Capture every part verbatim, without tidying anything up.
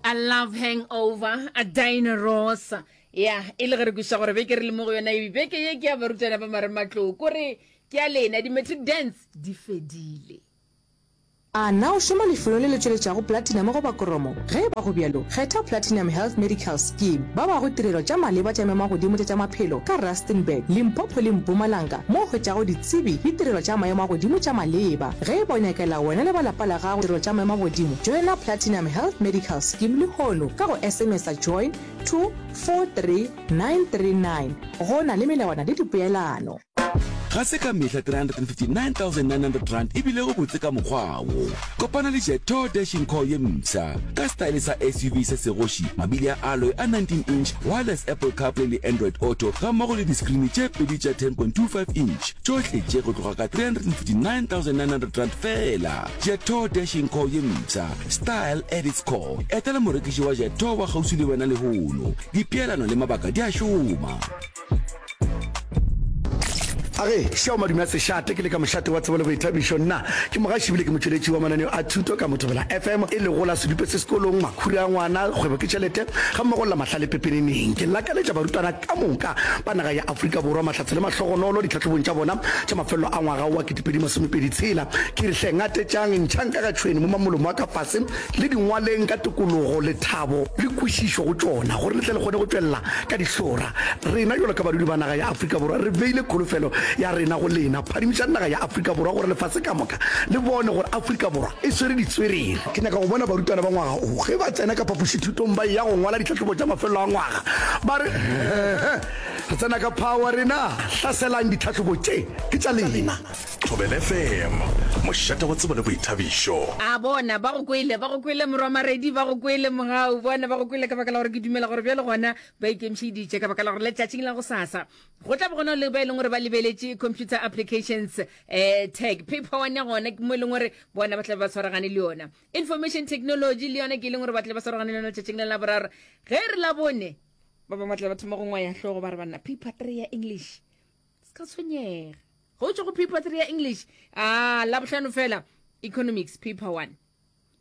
A Love Hangover, a Diana Ross. Ya, e le ge re kwešiša gore beke re le mo go yona e beke ye ke ya barutwana ba marematlou. Kore ke ya lena, di-matric dance di fedile. A na o šoma lefelong le le tšweletšago platinum goba kromo? Ge e ba go bjalo, kgetha Platinum Health Medical Scheme. Ba bago tirelo tša maleba tša maemo-a-godimo tša tša maphelo ka Rustenburg, Limpopo le Mpumalanga mo o hwetšago ditsebi le tirelo tša maemo a godimo tša maleba. Ge e ba o nyakela wena le ba lapa la gago tirelo tša maemo a godimo, joina Platinum Health Medical Scheme lehono ka go SMS-a join to four three nine three nine. Go na le melawana le dipeelano. Ga se ka mehla three hundred and fifty nine thousand nine hundred rand e bilego botse ka mokgwa wo. Kopana le Jetour Dashing Core ye mpsha, ka setaele sa S U V se segoši, mabili a alloy a nineteen inch, wireless Apple CarPlay le Android Auto gammogo le diskrini tše pedi tša ten point two five inch, tšohle tše go tloga ka three hundred and fifty nine thousand nine hundred rand feela. Jetour Dashing Core ye mpsha, style at its core. Etela morekiši wa Jetour wa kgauswi le wena lehono. Dipeelano le mabaka di a šoma. A ge, šeo madume a sešate, ke le ka mošate wa tsebo le boithabišo. Nna ke mogaši ebile ke motšweletši wa mananeo a thuto ka Mothobela F M, e lego la Sedupe se sekolong, Makhura a ngwana, Kgwebo ke tšhelete, gammogo le la Mahlale pepeneneng. Ke lakaletša barutwana ka moka ba naga ya Afrika Borwa mahlatse le mahlogonolo ditlhahlobong tša bona tša mafelelo a ngwaga wa ketepedi masomepedi tshela. Ke re hle ngatetšang, ntšhang ka ga tšhwene, momang molomo wa ka fase, le di ngwaleng ka tokologo, lethabo le kwešišo go tšona, gore le tle le kgone go tšwelela ka dihlora. Rena bjalo ka badudi ba naga ya Afrika Borwa re beile kholofelo ya rena go lena. Phadimišang naga ya Afrika Borwa gore lefase ka moka le bone gore Afrika Borwa e swere ditswerere. Ke nyaka go bona barutwana ba ngwaga wo ge ba tsena ka phapošithutong ba eya go ngwala ditlhahlobo tša mafelelo a ngwaga ba re, Re tsena ka power rena! Hlaselang ditlhahlobo tše, ke tša lena! Thobela F M, mošate wa tsebo le boithabišo. A bona, ba go kwele, ba go kwele, morwa Maredi, ba go kwele, Mogau, bona ba go kwele ka baka la gore ke dumela gore bjale gona ba ikemišeditše ka baka la gore letšatšing la gosasa go tla be gona le ba e leng gore ba lebeletše computer applications eh, tag paper one ya gona ke mo e leng gore bona ba tla be ba tshwaragane le yona. Information technology le yona ke e leng gore ba tla ba tshwaragane le yona letšatšing la Laboraro. Ge re la bone ba bangwe ba tla ba thoma go ngwaya hlogo ba re banna paper three ya English se ka tshwenyega. Go tšwa go paper three ya English, a Labohlano fela economics paper one,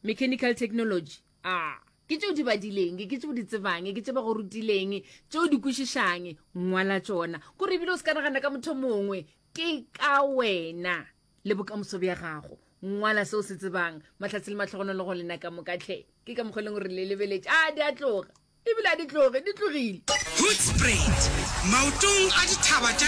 mechanical technology, a ke tšeo di badileng, ke tšeo di tsebang, ke tše ba go rutileng, tšeo di kwešišang, ngwala tšona. Kore ebile o se ka nagana ka motho mongwe, ke ka wena le bokamoso bja gago. Ngwala seo se tsebang. Mahlatse le mahlogonolo go lena ka moka hle. Ke ka mokgwa e leng gore le lebeletše. A di a tloga. Ebile a di tloge, di tlogile. Hoedspruit, maotong a dithaba tša